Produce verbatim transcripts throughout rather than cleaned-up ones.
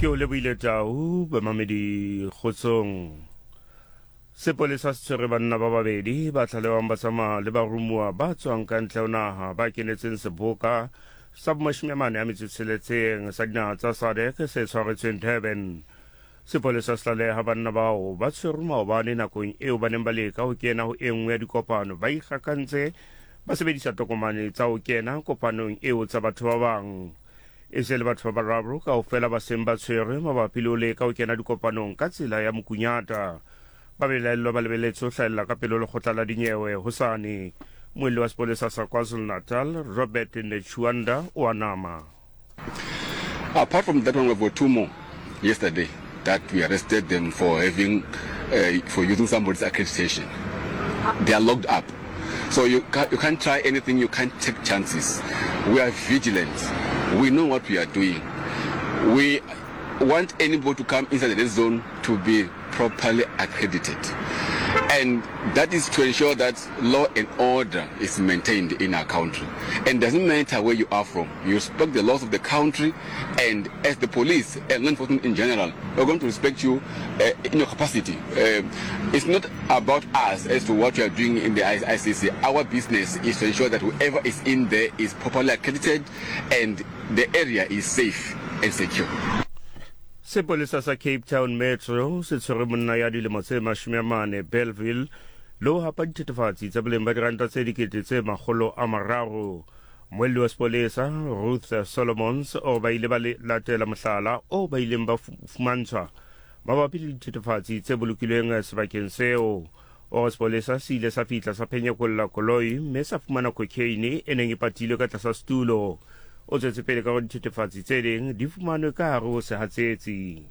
Ke o lebohile Tau. Bamamedi, kgotsong. Sepolesa se tshwere banna ba babedi ba tlalewang ba tsamaya le barumuwa ba tswang ka ntle ho naha ba kenetseng seboka sa bomashome a mane a metso e tsheletseng sa dinaha tsa SADC se tshwaretsweng Durban. Sepolesa se tlaleha banna bao ba tshwerwe maobane nakong eo ba neng ba leka ho kena ho e nngwe ya dikopano ba ikgakantse ba sebedisa tokomane tsa ho kena kopanong eo tsa batho ba bang. E se le batho ba bararo kaofela ba seng ba tshwerwe mabapi le ho leka ho kena dikopanong ka tsela ya mokunyata. Ba belaellwa ba lebeletse ho hlahella ka pele ho lekgotla la dinyewe hosane. Moelli wa sepolesa sa KwaZulu-Natal, Robert Netshuanda o a nama. Apart from that one, we've got two more yesterday that we arrested them for having, uh, for using somebody's accreditation. They are locked up. So you can't, you can't try anything, you can't take chances. We are vigilant. We know what we are doing. We want anybody to come inside the red zone to be properly accredited. And that is to ensure that law and order is maintained in our country. And doesn't matter where you are from, you respect the laws of the country, and as the police and law enforcement in general, we're going to respect you uh, in your capacity. Uh, it's not about us as to what we are doing in the I C C. Our business is to ensure that whoever is in there is properly accredited and the area is safe and secure. Sepolesa sa Cape Town Metro se tshwere monna ya dilemo tse mashome a mane Bellville le ho hapa dithethefatsi tsa boleng ba diranta tse dikete tse makgolo a mararo. Moelli wa sepolesa Ruth Solomons o ba ile ba latela mohlala o ba ileng ba fumantshwa mabapi le dithethefatsi tse bolokilweng sebakeng seo. O re sepolesa se ile sa fihla sa phenyekolla koloi mme sa fumana cocaine e neng e patilwe ka tlasa setulo. O tswetse pele ka hore dithethefatsi tse ding di fumanwe ka hare ho sehatsetsi.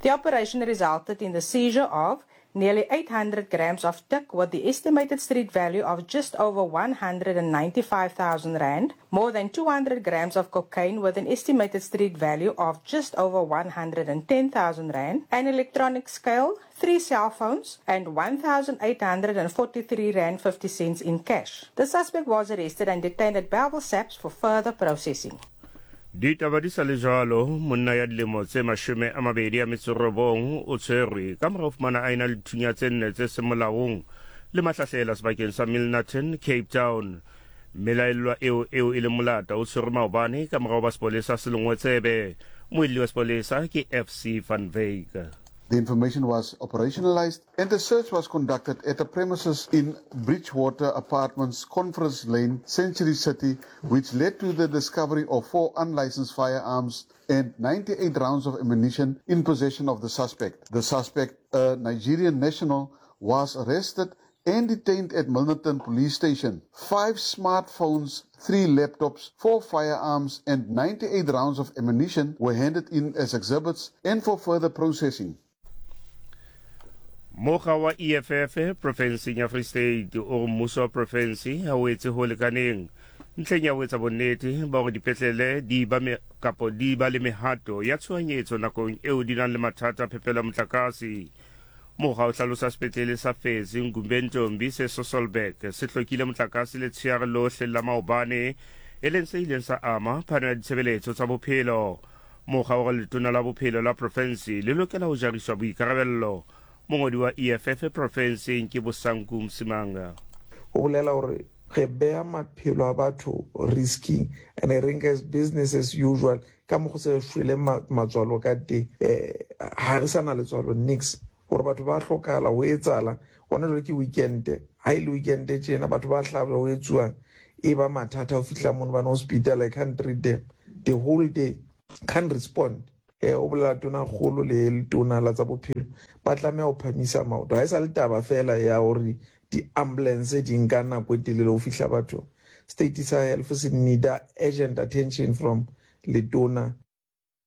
The operation resulted in the seizure of nearly eight hundred grams of tik with the estimated street value of just over one hundred ninety-five thousand rand, more than two hundred grams of cocaine with an estimated street value of just over one hundred ten thousand rand, an electronic scale, three cell phones, and one thousand eight hundred forty-three rand fifty cents in cash. The suspect was arrested and detained at Bellville S A P S for further processing. Ditaba di sa le jwalo, monna ya dilemo tse mashome a mabedi a metso robong o tshwerwe ka mora ho fumana a ena le dithunya tse nne tse seng molaong le mahlahlela sebakeng sa Milnerton, Cape Town. Melaellwa eo eo e leng molata o tshwerwe maobane ka mora ho ba sepolesa se lengwe tsebe. Moelli wa sepolesa ke F C van Wyk. The information was operationalized and the search was conducted at the premises in Bridgewater Apartments, Conference Lane, Century City, which led to the discovery of four unlicensed firearms and ninety-eight rounds of ammunition in possession of the suspect. The suspect, a Nigerian national, was arrested and detained at Milnerton Police Station. Five smartphones, three laptops, four firearms and ninety-eight rounds of ammunition were handed in as exhibits and for further processing. Mokga wa E F F profenseng ya Free State o re mmuso wa profense ha o etse ho lekaneng ntlheng ya ho etsa bonnete ba hore dipetlele di ba me, kapo di ba le mehato ya tshohanyetso nakong eo di nang le mathata a phepelo ya motlakase. Mokga o hlalosa sepetlele sa Fezi Ngumbentombi se Sasolburg se hlokile motlakase letsheare lohle la maobane, e leng se ileng sa ama phano ya ditshebeletso tsa bophelo. Mokga o re letona la bophelo la profense le lokela ho jariswa boikarabello. Mongodi wa E F F profenseng ke Bosanku Msimanga. O bolela hore re beha maphelo a batho risking and re nka as business as usual ka mokgwa se re shwele matswalo ka teng. Eh, ha re sa na letswalo nix hore batho ba hlokahala ho etsahala. Hona jwale ke weekend, ha e le weekend tjena batho ba hlaba ho etsuwang e ba mathata ho fihla mono bana hospital. I can't treat them the whole day, can't respond. Eh, o bolela tona kgolo le letona la tsa bophelo ba tlameha ho phamisa maoto. Ha e sa le taba fela ya hore di-ambulance di nka nako e telele ho fihla bathong. State sa health se need urgent attention from letona.